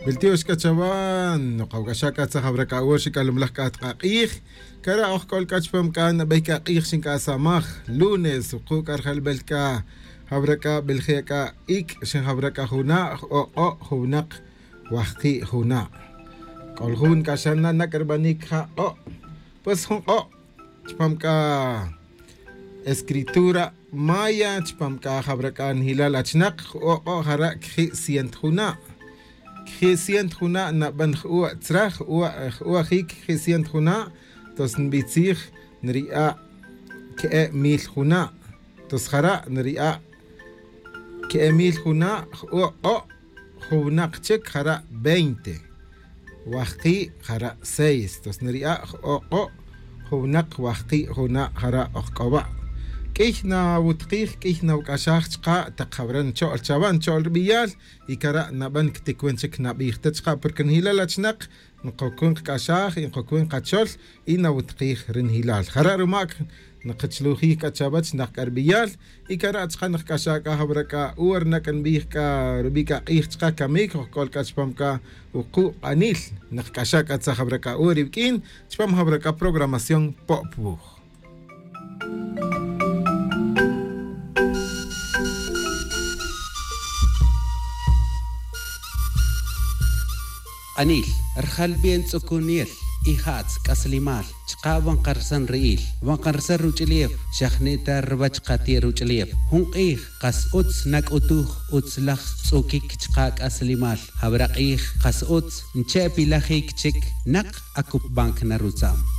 Biltiox k'a chawa noqawk'axa k'a tzajab'ra k'a awor xikalumlaj k'a tqaq'ij kara oj k'ol k'a chupam k'a nab'ey k'a q'ij xink'asamaj lunes wuqu' k'a rjalb'el k'a jab'ra k'a b'eljee' k'a ik' xinjab'ra k'a juna' o'q'o' juwnaq wajqi' juna' k'ol jun k'a xana nak' rb'anik ja q'o' pues jun q'o' chupam k'a escritura maya chupam k'a jab'ra k'a njilal achnaq o'q'o' jara' kji' cient juna' kji' cient juna' nab'an j-uwa tzraj uwa j-uwa jik kji' cient juna' tos nb'itzij nri'a' ke'e mil juna' tos jara' nri'a' ke'e mil juna' j-uwa q'o' juwnaq chik jara' 20 wajqi' jara' 6 tos nri'a' j-o'q'o' juwnaq wajqi' juna' jara' ojk'owa' k'iy nawutqij k'iy nawk'axaj chqa taq jab'ran ncho'l chawa ncho'l rb'iyal y kara' nab'an ktikwin chik nab'ij ta chqa porque njilal achnaq nqokun qk'axaj y nqokun qachol y nawutqij rinjilal jara' rumak nqichlujij k'a chawach naq k'a rb'iyal y kara' chqa nqk'axa k'a jab'ra k'a uwar nak nb'ij k'a rub'i' k'a q'ij chqa kamik ojk'ol k'a chupam k'a wuqu' q'anil nqk'axa k'a tza jab'ra k'a uwar iwk'in chupam jab'ra k'a programación Pop Wuj. Q'anil, rjalb'ien tz'ukuniel, ija'tz, k'aslimal, chqa wanqarsan ri'il, wanqarsan ruch'ilief, xajnita rb'ach qati' ruch'ilief, jun q'ij, qas utz nak'utuj utzlaj tz'ukik chqa k'aslimal, jab'ra q'ij, qas utz, nche' pilajik chik, naq akupb'ank narutzam.